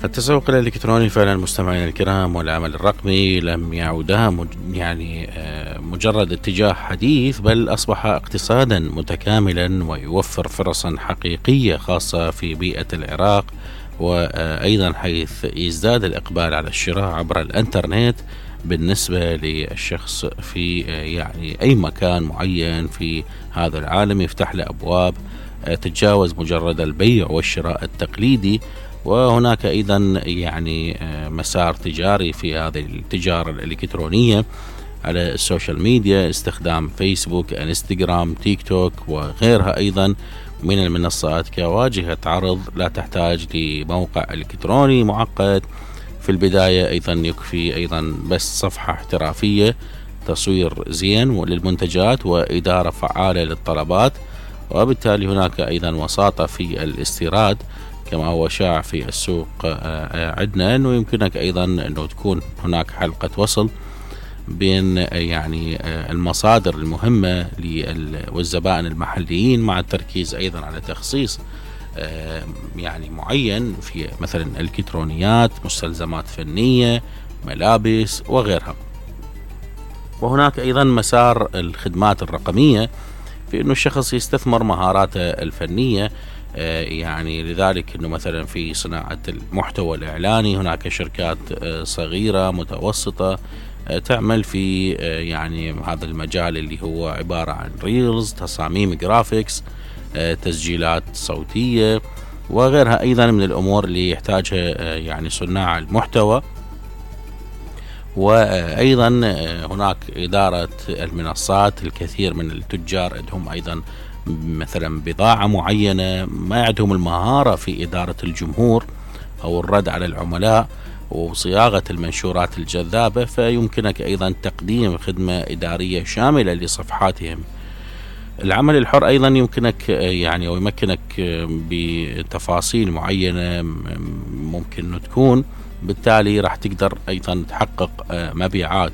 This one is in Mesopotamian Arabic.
التسوق الإلكتروني فعلا مستمعينا الكرام والعمل الرقمي لم يعودا مجرد اتجاه حديث، بل أصبح اقتصادا متكاملا ويوفر فرصا حقيقية خاصة في بيئة العراق، وأيضا حيث يزداد الإقبال على الشراء عبر الإنترنت بالنسبة للشخص في أي مكان معين في هذا العالم، يفتح له أبواب تتجاوز مجرد البيع والشراء التقليدي. وهناك أيضا مسار تجاري في هذه التجارة الإلكترونية على السوشيال ميديا، استخدام فيسبوك، انستغرام، تيك توك وغيرها أيضا من المنصات كواجهة عرض لا تحتاج لموقع إلكتروني معقد. في البداية أيضا يكفي أيضا بس صفحة احترافية، تصوير زين للمنتجات وإدارة فعالة للطلبات، وبالتالي هناك أيضا وساطة في الاستيراد كما هو شائع في السوق عندنا، أنه يمكنك أيضا أنه تكون هناك حلقة وصل بين المصادر المهمة والزبائن المحليين، مع التركيز أيضا على تخصيص معين في مثلا الكترونيات، مستلزمات فنية، ملابس وغيرها. وهناك أيضا مسار الخدمات الرقمية في أنه الشخص يستثمر مهاراته الفنية، لذلك أنه مثلا في صناعة المحتوى الإعلاني هناك شركات صغيرة متوسطة تعمل في هذا المجال اللي هو عبارة عن ريلز، تصاميم جرافيكس، تسجيلات صوتية وغيرها أيضا من الأمور اللي يحتاجها صناع المحتوى. وأيضا هناك إدارة المنصات، الكثير من التجار عندهم أيضا مثلا بضاعة معينة، ما عندهم المهارة في إدارة الجمهور أو الرد على العملاء وصياغة المنشورات الجذابة، فيمكنك أيضا تقديم خدمة إدارية شاملة لصفحاتهم. العمل الحر أيضا يمكنك ويمكنك بتفاصيل معينة ممكن تكون، بالتالي راح تقدر أيضا تحقق مبيعات